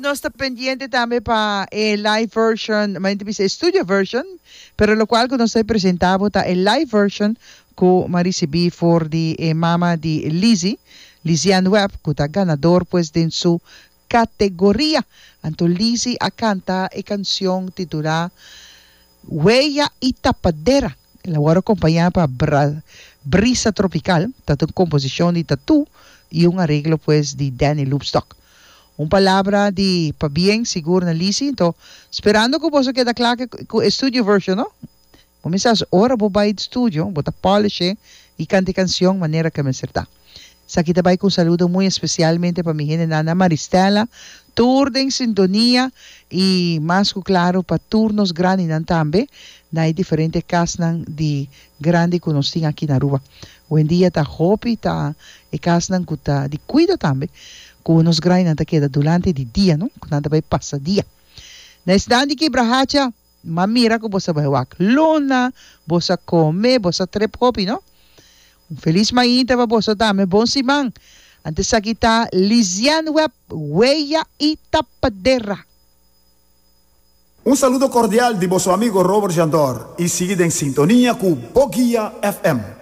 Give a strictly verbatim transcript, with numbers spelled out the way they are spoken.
Nos ta pendiente tambe pa e live version, ma bisa studio version, pero locual cu nos ta presenta ta e live version cu m'a ricibi for di e mama di Lizzie, Liziane Webb, cu ta ganador pues den su categoria. Anto Lizzie a canta e cancion titula Huella y Tapadera. El a wordo acompaña pa Bra Brisa Tropical, ta un composicion di Tatu y un areglo pues di Danny Loopstock. Un palabra di pabien sigur na Lizzie, anto sperando cu bo keda cla cu e studio version, no? Cuminsa ora bo bay studio, bo ta polish y canta cancion manera cu mester ta. Esaki ta bay cu un saludo muy especialmente pa mi hende Nana Maristela, tur den sintonia y mas cu claro pa tur nos grandinan tambe, na diferente casnan di grandi cu nos tin aki na Aruba. Awendia ta hopi ta e casnan cu ta di cuido tambe, cu nos grandinan ta keda durante di dia, no? Cu nan ta bay pasa dia. Na esnan di Kibrahacha, m'a mira cu bo a bay wak luna, bo a come, bo a trip hopi, no? Un feliz mainta pa bo tambe, bon siman. Anto esaki ta Liziane Webb, Huella y Tapadera. Un saludo cordial di boso amigo Robert Jandor y sigui den sintonia cu Boguia F M.